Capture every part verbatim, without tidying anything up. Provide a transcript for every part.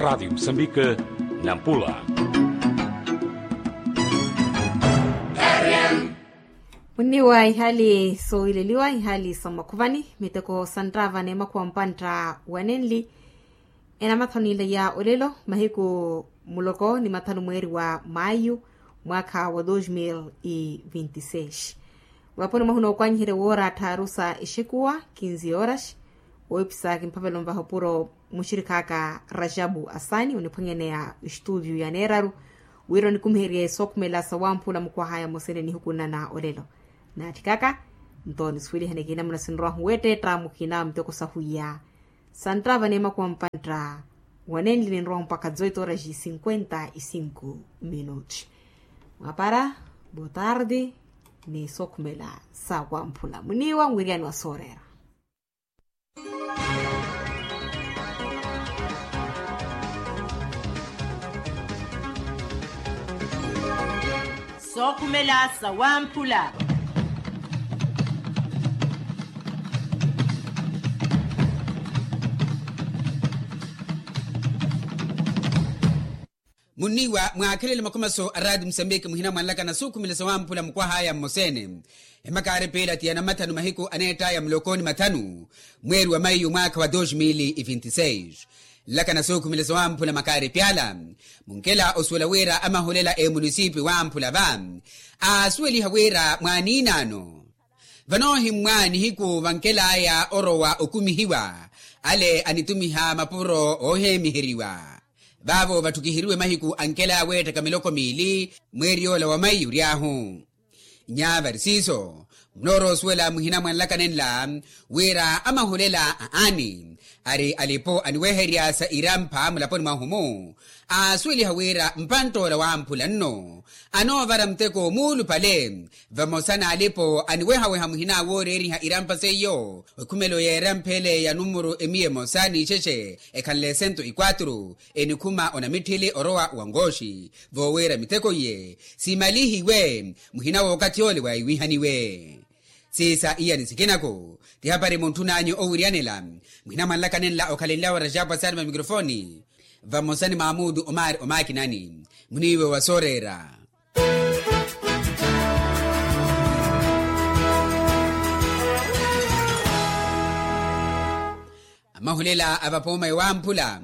Radiyo musambika, nampula. Munniwa ihali soowileliwa ihali sa mmakhuvani miteko sa nttava n'emakhuwa mpantta wanenli. Enamathanu n'ileya olelo mahiku muloko ni mathanu mweeri wa maayu mwaakha wa dos mil e vinti seis. Vaponi mwahuna ookwanyiherya woora tthaaru sa exekuwa kinzi yooraxi. Woopisa kimphavelo nvaha opuro muxirikhaaka rajabu asani oniphwanyaneya estudio ya neeraru wira onikumiherye sookhumela sa wamphula mukwahaya mosene nihukunana olelo. Naatthikaka nto nisuwelihane kiinamuna sinrowahu weetteetta mukhina miteko sahwiya sa nttava n'emakuwa mpantta wanenli ninrowahu mpakha dezoito horas e cinquenta e cinco minutos. Mwapara botarde ni sookhumela sa wamphula muniwa mwiriyani wa sooreera. Sookhumela sa wamphula. Munniwa mwaakhelele makhomaso a raati musambiki muhina mwanlakana sookhumela sa wamphula mukwahaya mmoseene. Emakaari piilati ya namathanu mahiku aneett'aya muloko ni mathanu mweeri wa maiyu mwaakha wa dos mil e vinti seis. Nlakana sookhumela sa wamphula makaari pyala. Munkela osuwela wira amahulela emunisipi wamphula va aasuweliha wira mwaaniinaano vanoohimmwa nihiku vankel'aya orowa okumihiwa ale anitumiha mapuro ooheemiheriwa. Vaavo vatthukiheriwe mahiku ankel'aya weettaka miloko miili mweeri yoola wa maiyu ory'ahu. Nyavari siiso munoorowa osuwela muhina mwa nlakana enla wira amahulela aani ari alipo aniweherya sa irampha mulaponi mwahu-mu. Aasuweliha wira mpantt'ola wamphula nno anoovara muteko muulupale vamosa n'alipo aniwehaweha muhina wooreeriha irampha seiyo. Ekhumelo y'erampha ele ya numuru emiya emosa n'ixexe ekhanle sento e quatro enikhuma onamitthili orowa wa nkooxi voowira miteko iye simalihiwe. Muhina w'okathi ole waiwihaniwe siisa iyani sikinako ti hapari muntthun'anyu owiriyanela. Muhina mwanlakana enla okhalenlyawe rajapu asaani va mikrofoni vamosa ni maamuudu omaari omaakinani muniiwe wa sooreera. Amahulela a vapooma ewamphula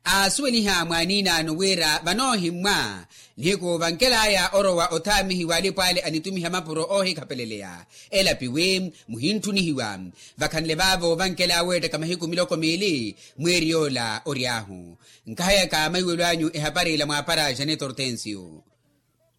aasuweliha mwaaniinaano wira vanoohimmwa nihiku vankel'aya orowa othaamihiwa alipo ale anitumiha mapuro oohikhapeleleya elapiwi muhintthunihiwa. Vakhanle vaavo vankel'aya weettaka mahiku miloko miili mweeri yoola ory'ahu. Nkahayaka maiwelo anyu ehapari ila mwaapara janeto hortensio.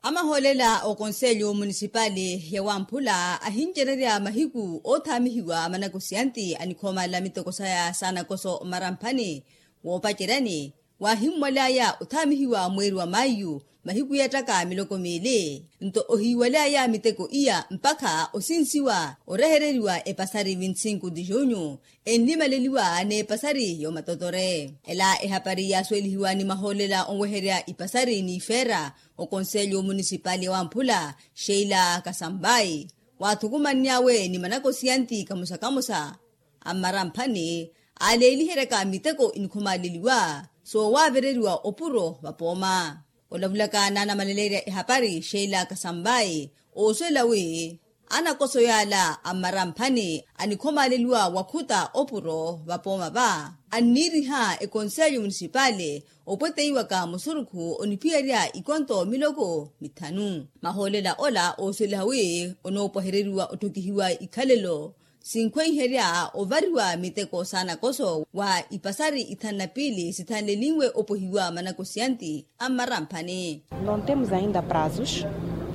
Amahoolela okonselyo munisipali ya wamphula ahincererya mahiku oothaamihiwa manakosiyanti anikhoomalela miteko saya saanakoso mmaramphani woopaceryani. Waahimmwaly'aya othaamihiwa mweeri wa maiyu mahiku yeettaka miloko miili nto ohiiwaly'aya miteko iya mpakha osinsiwa orehereriwa epasari vinti sinku di junyu enlimaleliwa n'epasari y'omatotore. Ela ehapari yaasuwelihiwa ni mahoolela onweherya ipasari n'ifeera okonselyo munisipali ya wamphula sheila kasambai waathukumanny'awe ni manakosiyanti kamosa-kamosa a mmaramphani aaleeliheryaka miteko inikhomaaleliwa soowaavereriwa opuro vapooma. Olavulaka naanamaleleerya ehapari sheila kasambai oosuwela wi anakoso yaala a mmaramphani anikhomaaleliwa wakhuta opuro vapooma va anniiriha ekonselyo munisipali opweteiwaka musurukhu oniphiyerya ikonto miloko mithanu. Mahoolela ola oosuweliha wi onoopwahereriwa otthokihiwa ikhalelo sinkhweiherya ovariwa miteko saanakoso wa ipasari ithanu na piili sithanlelinwe opwehiwa manakosiyanti a mmaramphani. Não temos ainda prazos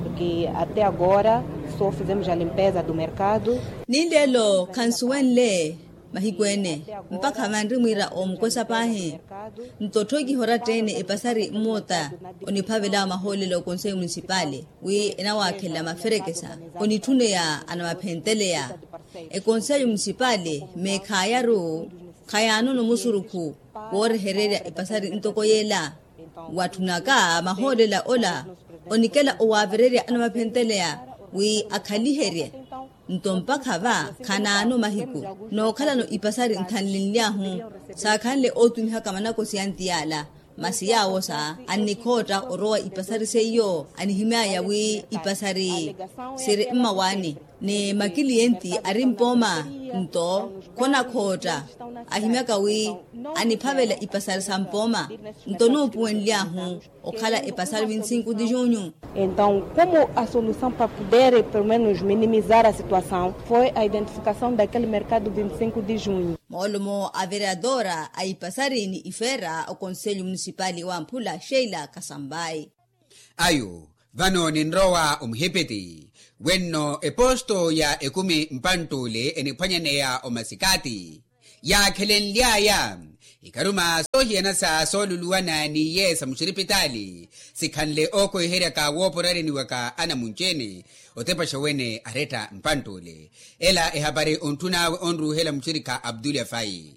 porque até agora só fizemos a limpeza do mercado. Ni leelo khansuwenle mahiku ene mpakha vanri mwiira omukwesa paahi. Nto otthokiha oratta-ene epasari mmoota oniphavela mahoolela okonselyo munisipali wi enawaakhelela maferekesa onitthuneya anamaphenteleya. Ekonselyo munisipali meekhaayaru khayaanono musurukhu woorehererya epasari ntoko yeela. Watthunaka mahoolela ola onikela owaavererya anamaphenteleya wi akhaliherye. Nto mpakha va khanaano mahiku nookhalano ipasari nthanlenly'ahu saakhanle ootumihaka manakosiyanti yaala. Masi yaawosa annikhootta orowa ipasari seiyo anihimyaya wi ipasari siri mmawaani ni makiliyenti ari mpooma. Nto khonakhootta ahimyaka wi aniphavela ipasari sa mpooma. Nto nuupuwenly'ahu okhala epasari vinti sinku di junyu. Entaw komu a solusaw pa pudere pelumenus minimizar a situasaw foi a identifikasaw dakel merkadu vinti sinku di junyu. Moolomo a vereadora a ipasari ni ifeera okonselho munisipali wamphula sheila kasambai. Ayu vano ninrowa omuhipiti wenno eposto ya ekumi mpantt'ule eniphwanyaneya omasikati yaakhelenly'aya ikaruma soohiyana sa sooluluwana n'iye sa muxiripitaali sikhanle ookhoiheryaka wooporareniwaka anamunci-ene otepaxa wene aretta mpantt'ule. Ela ehapari ontthun'awe onruuhela muxirikha abdulya fayi.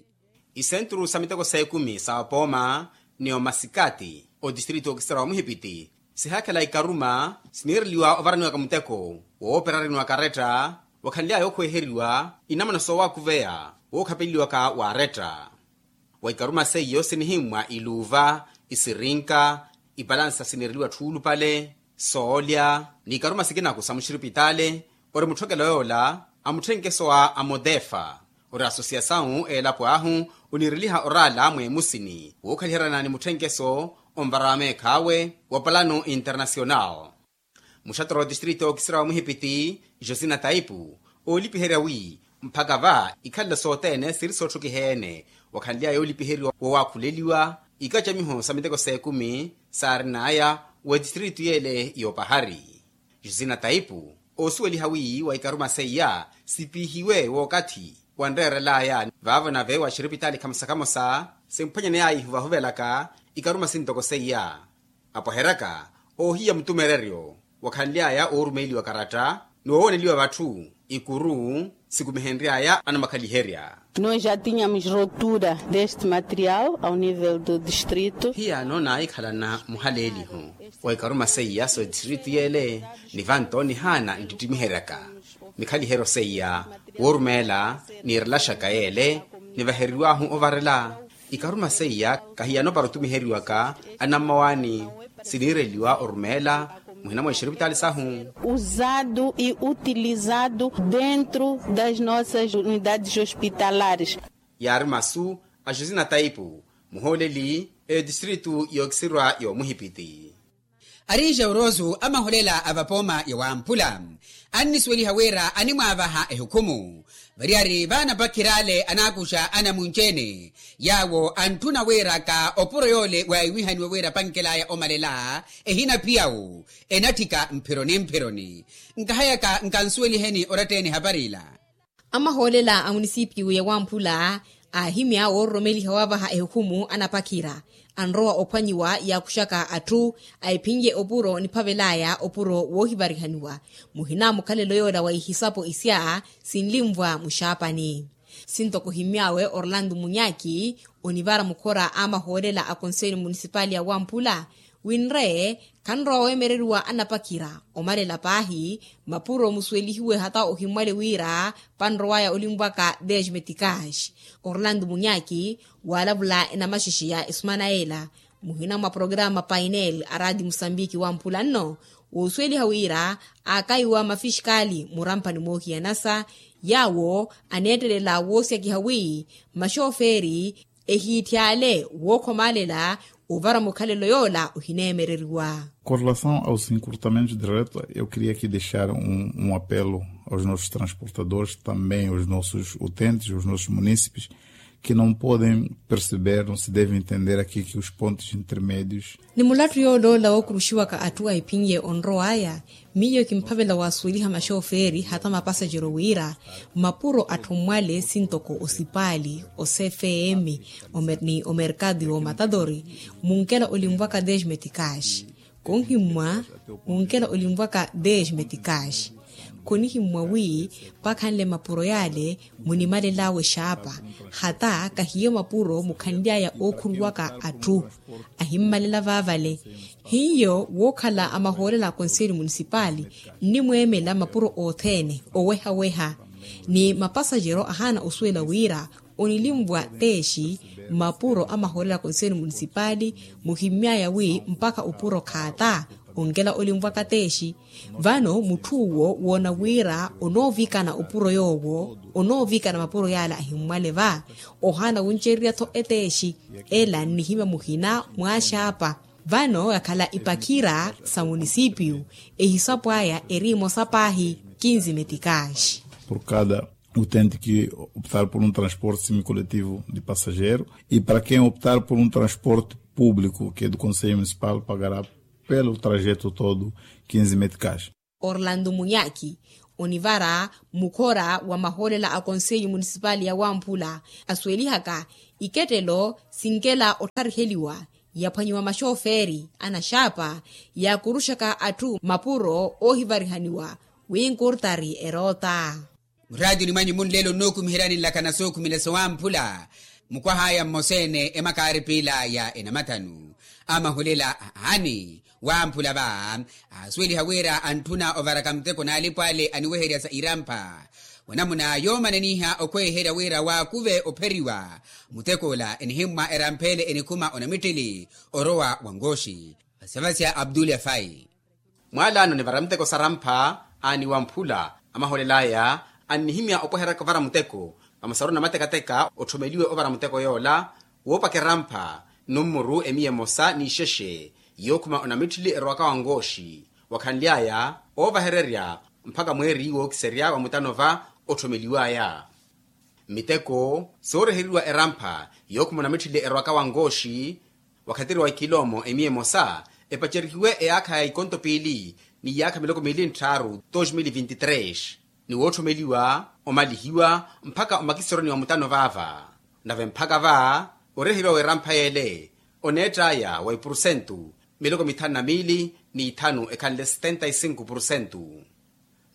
Isenturu sa miteko s'ekumi sa opooma ni omasikati otistrito okisera wa muhipiti sihaakhela ikaruma siniireliwa ovaraniwaka muteko wooperareniwaka aretta wakhanly'aya okhweiheriwa inamana soowakuveya wookhapeleliwaka wa aretta. Wa ikaruma seiyo sinihimmwa iluuva isirinka ipalansa siniireliwa tthulupale soolya n'ikaruma sikinaku sa muxiripitaale. Ori mutthokelo yoola a mutthenkeso a amodefa ori asosiyasawu eelapo ahu oniireliha oraala mweemusini wookhaliheryana ni mutthenkeso onvara wa meekh'awe wa palano internasional. Muxattoro otistrito ookisira wa muhipiti josina taipu oolipiherya wi mphaka va ikhalela sothene siri sootthukiha-ene wakhanly'aya yoolipiheriwa woowakhuleliwa ikacamiho sa miteko s'ekumi saarin'aya w'etistrito y'ele y'opahari. Josina taipu oosuweliha wi wa ikaruma seiya sipihiwe w'okathi wanreerel'aya vaavo nave wa xiripitaali khamosa khamosa simphwanyaney'aya ihuvahuvelaka ikaruma sintoko seiya. Apwaheryaka oohiya mutumereryo wakhanly'aya oorumeeliwa karatta ni woowoneliwa vatthu ikuru sikumihenry'aya anamakhaliherya. Noo ja tínhamos rotura deste material ao nível do distrito. Hiyano naahikhalana muhaleeliho wa ikaruma seiya so distrito y'ele ni vanto nihaana nttittimiheryaka mikhaliheryo seiya woorumeela niirelaxaka y'ele nivaheriw'ahu ovarela ikaruma seiya kahiyano para otumiheriwaka anammawaani siniireliwa orumeela muhina mwa ixiripitaali sahu. Usado e utilizado dentro das nossas unidades hospitalares. Yaari masu a josina taipu muhooleli etistritu yookisirwa yoomuhipiti. Ari jaurosu amaholela a vapooma ya wamphula annisuweliha wira animwaavaha ehukhumu variyari vaanapakhir'ale anaakuxa anamunci-ene yaawo antthuna wiraka opuro yoole waahiwihaniwe wira apankel'aya omalela ehina phiyawu enatthika mphironi mphironi. Nkahayaka nkansuweliheni oratta-ene ehapari ila. Amahoolela a munisipiyu ya wamphula aahimya woororomeliha waavaha ehukhumu anapakhira anrowa ophwanyiwa yaakuxaka atthu a ephinye opuro niphavel'aya opuro woohivarihaniwa muhina mukhalelo yoola wa ihisapo isya sinlimvwa muxaapani. Sintoko ohimy'awe orlando munyaki onivara mukhora a amahoolela a konselho munisipali ya wamphula winre khanrowa weemereriwa anapakhira omalela paahi mapuro musuwelihiwe hata ohimmwale wira panrowaya olimvwaka desmetikash. Orlando munyaki waalavula enamaxexe ya esumana ela muhina mwa programa painel a raati musambiki wamphula nno woosuweliha wira aakaiwa mafixikali muramphani moohiyanasa yaawo aneettelela woosyakiha wi maxofeeri ehiitthi ale wookhomaalela ovara mukhalelo yoola ohineemereriwa. Com relação aos encurtamentos de reta eu queria aqui deixar um apelo aos nossos transportadores também aos nossos utentes aos nossos munícipes que não podem perceber não se devem entender aqui que os pontos intermédios. Ni mulattu yooloola wookuruxiwaka atthu a ephinye onrow'aya miyo kimphavela waasuweliha maxofeeri hata mapasajero wira mapuro atthu mmwale sintoko osipaali osefeemi ni omerkatu y'omatatori munkela olimvwaka desmetikash konhimmwa munkela olimvwaka desmetikash. Khonihimmwa wi pakhanle mapuro yaale munimalel'awe xaapa hata kahiyo mapuro mukhanly'aya ookhuruwaka atthu ahimmalela vaavale. Hiyo wookhala amahoolela a konselho munisipali nnimweemela mapuro othene oweha-weha ni mapasajero ahaana osuwela wira onilimvwa teexi Mapuro a maholela konselho munisipali muhimmyaya wi mpakha opuro khaata onkela olimvwaka teexi. Vano mutthu uwo woona wira onoovikana opuro yoowo onoovikana mapuro yaala ahimmwale va ohaana wuncererya-tho eteexi. Ela nnihimya muhina mwaaxaapa. Vano yakhala ipakhira sa munisipiyu ehisapu aya eri emosa paahi. Kinzi metikaxi. Por cada utente ki optar por um transporte semicoletivo de passageiro e para quem optar por um transporte público que é do conselho municipal pagará pelo trajeto todo kinzi metikaxi. Orlando munyaki onivara mukhora wa mahoolela a konselho munisipali ya wamphula asuwelihaka ikettelo sinkela ottariheliwa yaphwanyiwa maxoferi anaxaapa yaakuruxaka atthu mapuro oohivarihaniwa wi nkurtari eroota. Muraatini mwanyu munlelo nnookumiheryani nlakana sookhumela sowamphula mukwahaya mmosa-ene emakaari piila ya enamathanu amahulela. Aani wamphula va aasuweliha wira antthuna ovaraka muteko n'alipo ale aniweherya sa irampha wanamuna yoomananiha okhweeherya wira waakuve opheriwa. Muteko ola enihimmwa erampha ele enikhuma onamitthili orowa wa nkooxi. Vasavasya abdul yafai. Mwaalaano nivara muteko sarampha aani wamphula amaholel'aya annihimya opweheryaka ovara muteko vamosaru na matekateka otthomeliwe ovara muteko yoola woopaka erampha nummuru emiya emosa n'ixexe yookhuma onamitthili erowaka wankooxi wakhanly'aya oovahererya mpakha mweeri wookiserya wa mutano va otthomeliw'aya. Miteko sooreheriwa erampha yookhuma onamitthili erowaka wankooxi wakhatiri wa ikiloomo emiya emosa epacerihiwe eyaakha ya ikonto piili n'iyaakha miloko miili ntthaaru dos mil vinti tres ni wootthommeliwa omalihiwa mpakha omakisoroni wa mutano vaava. Nave mpakha va oreheriwa w'erampha yeele oneett'aya wa ipurusentu miloko mithanu na miili n'ithanu ekhanle setenta e sinku purusentu.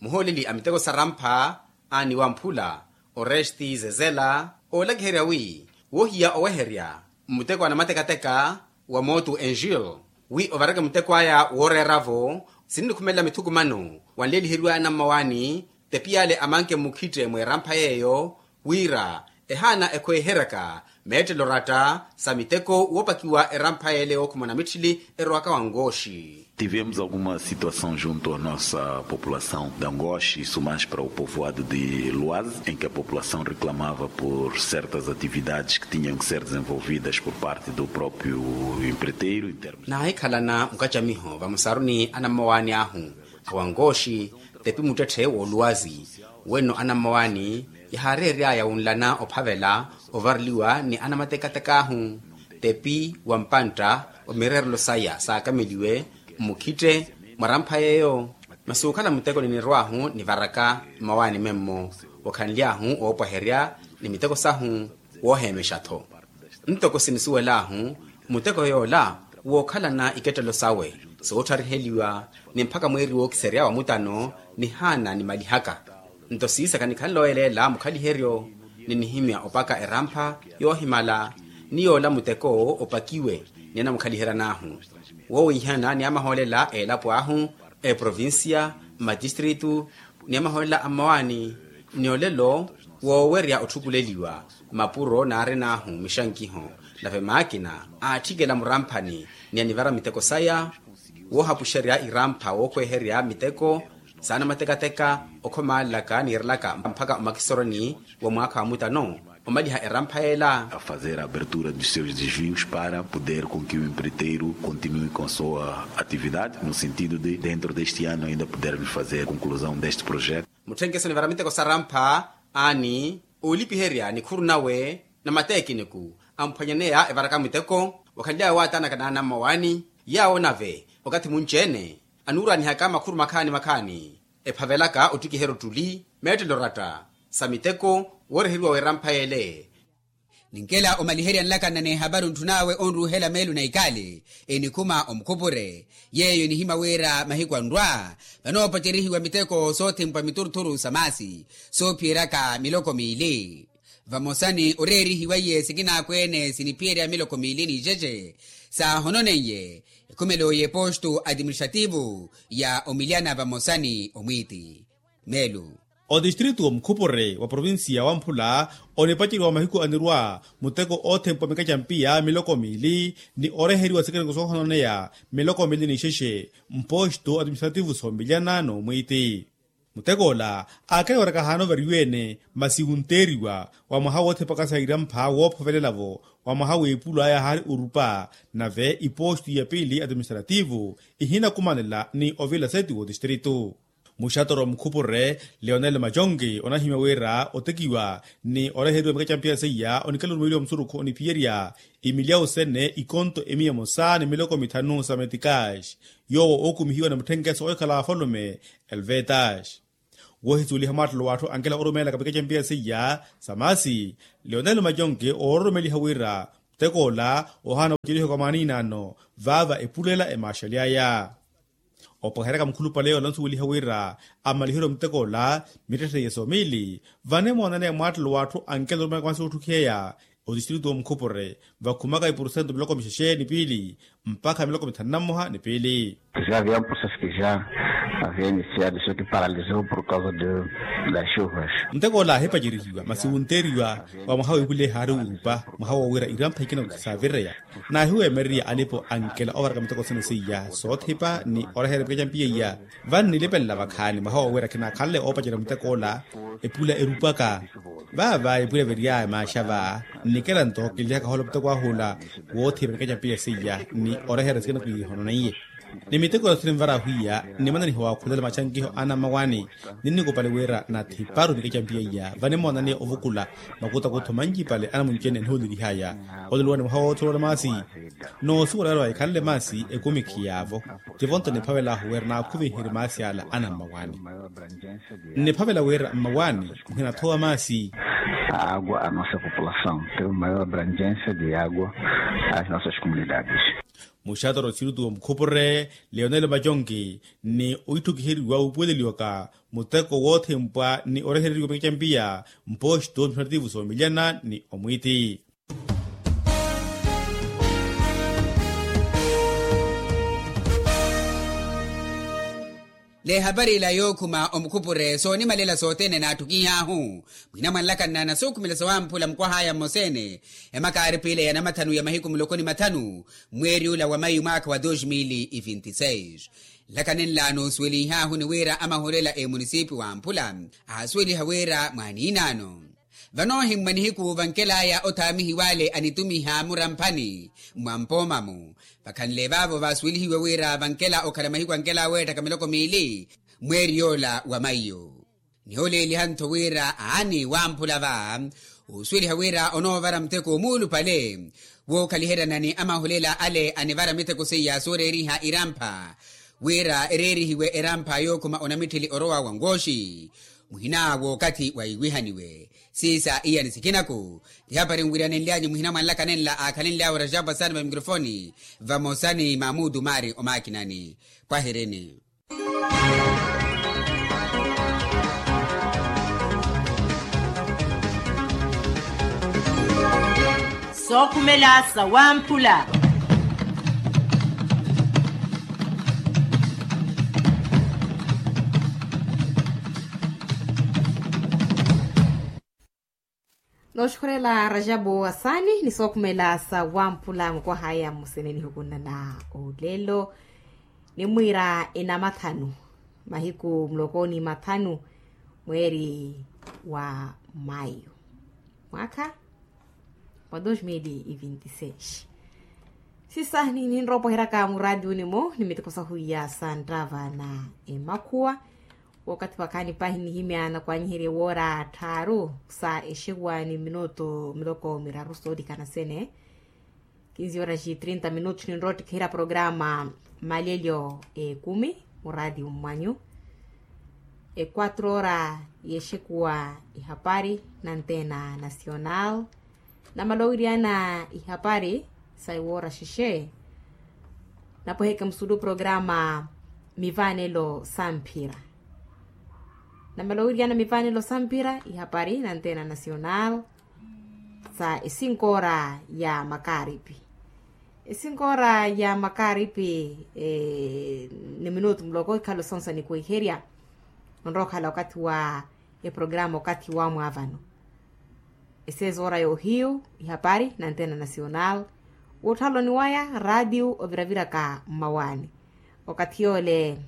Muhooleli a miteko sarampha aani wamphula oresti zezela oolakiherya wi wohiya oweherya mmuteko anamatekateka wa mootu enjil wi ovareke muteko aya wooreera-vo sinnikhumelela mithukumano wanleeliheriwaya anammawaani tepi yaale amanke mmukhitte mw'erampha yeeyo wira ehaana ekhweeheryaka meettelo oratta sa miteko woopakiwa erampha yeele wookhuma onamitthili erowaka wankooxi. Tivemos alguma situação junto a nossa população da ngoxi isso mais para o povoado de luazi em que a população reclamava por certas atividades que tinham que ser desenvolvidas por parte do próprio empreiteiro em termos. Naahikhalana mukacamiho vamosaru ni anammawaani ahu awankooxi tepi muttetthe wooluwazi wenno anammawaani yahaareery'aya wunlana ophavela ovareliwa ni anamatekateka ahu tepi wa mpantta wa mireerelo saya saakameliwe mmukhitte mwarampha yeeyo. Masi okhala muteko ninirw'ahu nivaraka mmawaani memmo wakhanly'ahu woopwaherya ni miteko sahu wooheemexa-tho. Ntoko sinisuwel'ahu muteko yoola wookhalana ikettelo sawe soottariheliwa ni mpakha mweeri wookiserya wa mutano nihaana nimalihaka. Nto siisaka nikhanle oyeleela mukhaliheryo ni nihimya opaka erampha yoohimala ni yoola muteko opakiwe ni anamukhaliheryan'ahu woowihana ni amahoolela a elapo ahu eprovincia mmatistritu ni amahoolela a mmawaani ni olelo woowerya otthukuleliwa mapuro naarin'ahu mixankiho nave maakina aatthikela muramphani ni anivara miteko saya woohapuxerya irampha wookhweeherya miteko saana matekateka okhomalelaka niirelaka mpakha omakisoroni wa mwaakha wa mutano omaliha erampha yeela. A fazer a abertura dos seus desvios para poder com que o empreiteiro continue com a sua atividade no sentido de dentro deste ano ainda podermos fazer a conclusão deste projeto. Mutthenkeso nivara miteko sarampha aani oolipiherya nikhuru nawe na mateekiniku amphwanyaneya evaraka miteko wakhanly'aya waatanaka n'anammawaani yaawo nave wakathi munci-ene anuuraanihaka makhuru makhaani makhaani ephavelaka ottikiherya ottuli meettelo oratta sa miteko wooreheriwa w'erampha yeele. Ninkela omaliherya nlakana n'ehaparu ntthun'awe onruuhela meelu na ikaali enikhuma omukhupure yeeyo enihimya wira mahiku anrwa vanoopacerihiwa miteko soothimpwa miturthuru sa maasi soophiyeryaka miloko miili. Vamosa ni oreerihiwa iye sikinaakwene siniphiyerya miloko miili n'ixexe saahononeiye ekhumelo y'epostu atiministrativu ya omilyana vamosa ni omwiiti meelu. Otistritu omukhupure wa provincia wamphula onipaceriwa mahiku anirwa muteko othempwa mikacampiya miloko miili ni oreheriwa sikereko soohononeya miloko miili ni xexe mposto atiministrativu soomilyana n'omwiiti. Muteko ola aakela waraka ahaana ovariwa-ene masi wunteeriwa wa mwaha woothepaka sa irampha woophovelela-vo wa mwaha w'epulo aya ahaari orupa. Nave iposto ya piili atiministrativu ihinakumanela ni ovila seti w'otistritu. Muxatoro mukhupure leonel majongi onahimya wira otekiwa ni oreheriwa mikacampiya seiya onikela orumeeliwa musurukhu oniphiyerya imilyawu sene ikonto emiya emosa ni miloko mithanu sa metikaxi yoowo ookumihiwa ni mutthenkeso ohikhala wa afalume elvetas. Woohisuweliha mwaattelo w'atthu ankela orumeelaka mikacampiya seiya sa maasi leonel majongi oororomeliha wira muteko ola ohaana wucelihiwaka mwaaniinaano vaava epulela emaaxaly'aya. Opaheryaka mukhulupale ola onsuweliha wira amaliheriwe muteko ola mittetteiye soomiili vane moonaneya mwaattelo w'atthu ankela orumeelaka maasi otthukiheya otistritu omukhupure vakhumaka ipursentu miloko mixexe ni piili mpakha miloko mithanu na mmoha ni piili. Sia viampusa sikija avienisia diso ki paraliso por kausa de las chuvas. Muteko ola ahipacerihiwa masi wunteeriwa wa mwaha w'epulo ehaari orupa mwaha wowira irampha ikina saavireya. Naahiweemererya alipo ankela ovaraka miteko sene seiya soothipa ni orehera mikacampiya iya. Vano nilipelela vakhaani mwaha wowira kinaakhanle oopacerya muteko ola epula erupaka. Vaava epula evirya emaaxa va nnikela nto kinlihaka hoola muteko ah'ola woothipa mikacampiya seiya ni orehera sikina kiihononeiye. Ni miteko ya siri nvara ahwiya nnimananiha waakhulela maxankiho ana mmawani. Ninnikupale wira nathiparu mikacampiya iya vane moonaniya ovukula makutakutho manci pale anamuncene enihoolelihaya. Olelo wani mwaha wootholola maasi noosuwela wira waikhanle maasi ekumikhiyaavo. Tivo nto niphavel'ahu wira naakhuvenherye maasi ala ana mmawani. Nniphavela wira mmawani muhinathowa maasi. Agua a nossa populasaw teve maior abrangensia de agua. As nossas comunidades. Muxatoro sirutu omukhupure leonel majonki ni oitthukiheriwa wuupuweleliwaka muteko woothempwa ni orehereriwa mikacampiya mposto mpinativu soomilyana ni omwiiti. N'ehapari ila yookhuma omukhupure soonimalela sothene naatthukihahu. Mwina mwanlakanna na sookhumela sawamphula mukwahaya mmoseene ya makaaripile ya namathanu ya mahiku muloko ni mathanu mweeri ula wa mayu mwaakha wa dos mili e vinti seis. Nlakani nla noosuwelihahu ni wira amahulela emunisipi wamphula aasuweliha wira mwaaniinaano. Vano ohimmwa nihiku vankel'aya othaamihiw'ale anitumiha muramphani mwa mpooma-mu. Vakhanle vaavo vaasuwelihiwe wira vankela okhala mahiku ankela aweetthaka miloko miili mweeri yoola wa maiyo. Nihooleeliha-ntho wira aani wamphula va oosuweliha wira onoovara muteko omuulupale wookhaliheryana ni amahulela ale anivara miteko seiya sooreeriha irampha wira ereerihiwe erampha yookhuma onamitthili orowa wa ngooxi. Muhina w'okathi waiwihaniwe siisa iyani sikinaku. Tihapari nwiranenly'anyu muhina mwanlaka nenla aakhalenly'awe rajabu asani va mikrofoni vamosa ni mamudu mari omaakinani. Pwahirini. Sookhumela sawamphula. Nooxukhurela rajabu asani ni sookhumela sawamphula mukwahaya mmusene nihukunna na olelo. Nimwiira enamathanu mahiku muloko ni mathanu mweeri wa mayu mwaakha wa dos mili e vinti seis. Sisa ninropoheryaka muraatiuni mu ni miteko sahwiya sa nttava na emakhuwa. Wookathi wakhaani pahi nihimya nakwanyiherye woora tthaaru sa exekuwa ni minutu miloko miraru soolikana sene. Kinzi horas e trinta minutos ninroottikhiherya programa malelyo ekumi muraatiuni mwanyu. E quatro hora y'exekuwa ihapari na antena nacional. Namala owiryana ihapari sa iwoora xexe. Napweheke musulu programa mivanelo samphira. Namala owiryana mivanelo samphira ihapari na antena nacional sa esinkoora ya makaaripi. Esinkoora ya makaaripi ni minutu muloko ikhalo sonsa nikwiherya. Onrookhala okathi wa eprograma okathi wamwaavano. Esezoora yoohiyu, ihapari na antena nacional. Wootthaaloni waya raatiyu oviraviraka mmawaani. Okathi yoole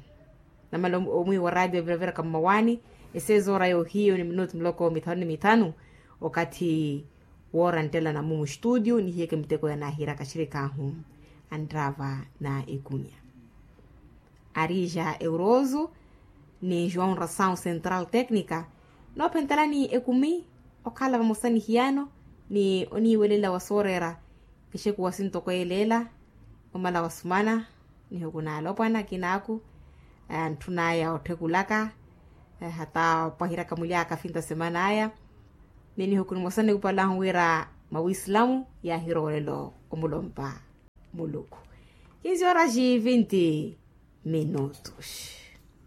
namala omwiiwa raatiyu oviraviraka mmawaani. Esezoora yoohiyu ni minutu miloko mithanu ni mithanu. Okathi woora nttelana mumu studio nihiyeke miteko yanaahiiraka axirikaahu anttaava na ekunya. Arija euroso ni joão ração central técnica noophentelani ekumi. Okhala vamosa ni hiyano ni oniiwelela wa sooreera exekuwa sintoko yeleela. Omala wasumana nihukuna alopwana akinaaku antthunaya otthukulaka hata opwahiraka mulyaaka finta semana aya. Ni nihukuna mosa nikupalahu wira mawislamu yaahiroolelo omulompa muluku. Kinzi oraji vinti minutos.